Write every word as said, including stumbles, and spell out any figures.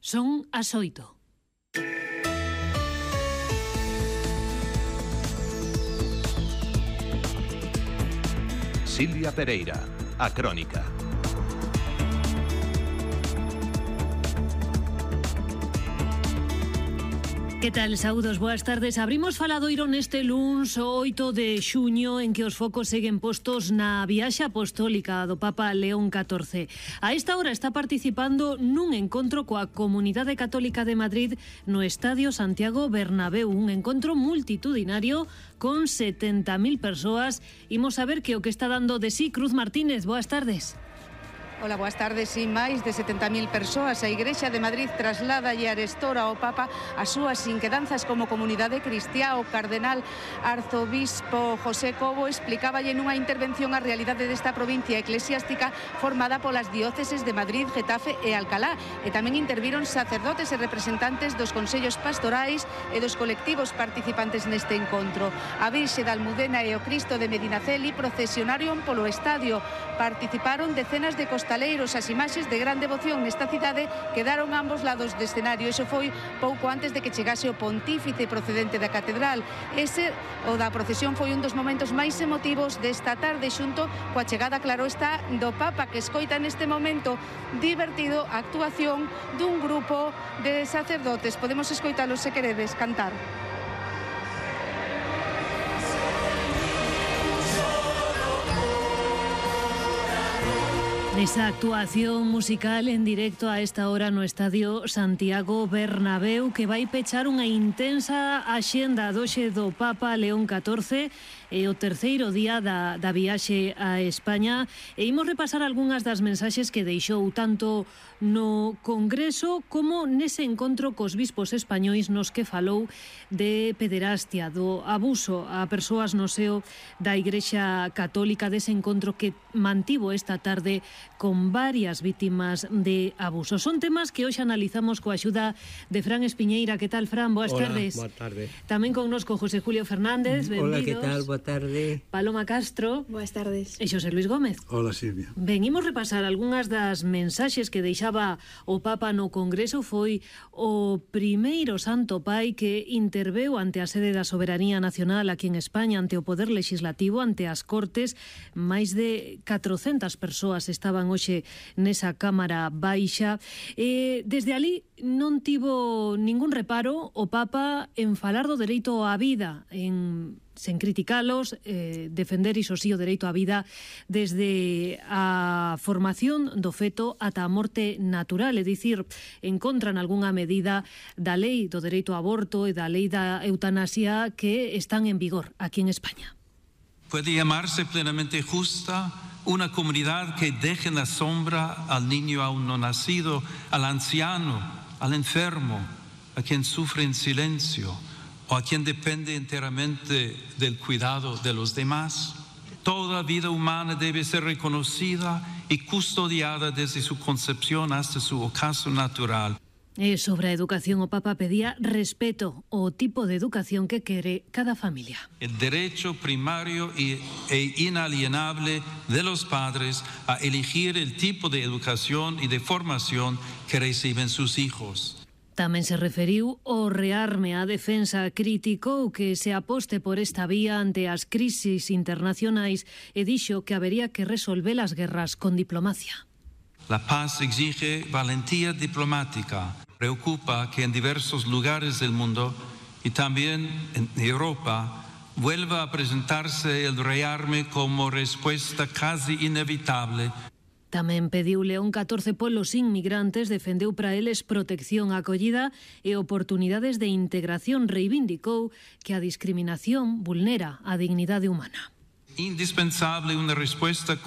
Son as oito. Silvia Pereira, a Crónica. Que tal, saúdos, boas tardes. Abrimos faladoiro neste luns oito de xuño en que os focos seguen postos na viaxe apostólica do Papa León catorce. A esta hora está participando nun encontro coa Comunidade Católica de Madrid no Estadio Santiago Bernabéu, un encontro multitudinario con setenta mil persoas. Imos a ver que o que está dando de sí Cruz Martínez. Boas tardes. Ola, boas tardes. Si máis de setenta mil persoas, a Igrexa de Madrid traslada e arestora ao Papa as súas inquedanzas como comunidade cristiá. O cardenal arzobispo José Cobo explicaba nunha intervención a realidade desta provincia eclesiástica formada polas dióceses de Madrid, Getafe e Alcalá. E tamén interviron sacerdotes e representantes dos consellos pastorais e dos colectivos participantes neste encontro. A Virxe da Almudena e o Cristo de Medinaceli procesionaron polo estadio. Participaron decenas de costaleiros. As imaxes de gran devoción nesta cidade quedaron a ambos lados do escenario. Iso foi pouco antes de que chegase o pontífice procedente da catedral. Ese, o da procesión, foi un dos momentos máis emotivos desta tarde, xunto coa chegada, claro está, do Papa, que escoita neste momento divertido a actuación dun grupo de sacerdotes. Podemos escoitalos se queredes cantar. Esa actuación musical en directo a esta hora no Estadio Santiago Bernabéu, que vai pechar unha intensa axenda doxe do Papa León catorce e o terceiro día da, da viaxe a España. E imos repasar algunhas das mensaxes que deixou tanto no Congreso como nese encontro cos bispos españois nos que falou de pederastia, do abuso a persoas no seo da Igrexa Católica, dese encontro que mantivo esta tarde con varias vítimas de abuso. Son temas que hoxe analizamos coa axuda de Fran Espiñeira. Que tal, Fran? Boas Hola, tardes. Boa tarde. Tamén connosco José Julio Fernández. Benvidos. Hola, que tal? Boa tarde. Paloma Castro. Boas tardes. E Xosé Luis Gómez. Hola, Silvia. Ben, imos repasar algunhas das mensaxes que deixaba o Papa no Congreso. Foi o primeiro Santo Pai que interveu ante a sede da Soberanía Nacional aquí en España, ante o Poder Legislativo, ante as Cortes. Máis de catrocentas persoas estaban hoxe nesa Cámara Baixa. E desde ali non tivo ningún reparo o Papa en falar do dereito á vida, en sen criticalos, eh, defender iso sí o dereito á vida desde a formación do feto ata a morte natural, é dicir, en contra en algunha medida da lei do dereito ao aborto e da lei da eutanasia que están en vigor aquí en España. Puede llamarse plenamente justa una comunidad que deje en la sombra al niño aún no nacido, al anciano, al enfermo, a quien sufre en silencio o a quien depende enteramente del cuidado de los demás. Toda vida humana debe ser reconocida y custodiada desde su concepción hasta su ocaso natural. E sobre a educación, o Papa pedía respeto ao tipo de educación que quere cada familia. El derecho primario e inalienable de los padres a elegir el tipo de educación y de formación que reciben sus hijos. Tamén se referiu ao rearme á defensa, criticou que se aposte por esta vía ante as crisis internacionais e dixo que habería que resolver as guerras con diplomacia. La paz exige valentía diplomática. Preocupa que en diversos lugares del mundo y también en Europa vuelva a presentarse el rearme como respuesta casi inevitable. Tamén pediu León catorce polos inmigrantes, defendeu para eles protección, acollida e oportunidades de integración. Reivindicou que a discriminación vulnera a dignidade humana. Indispensable una respuesta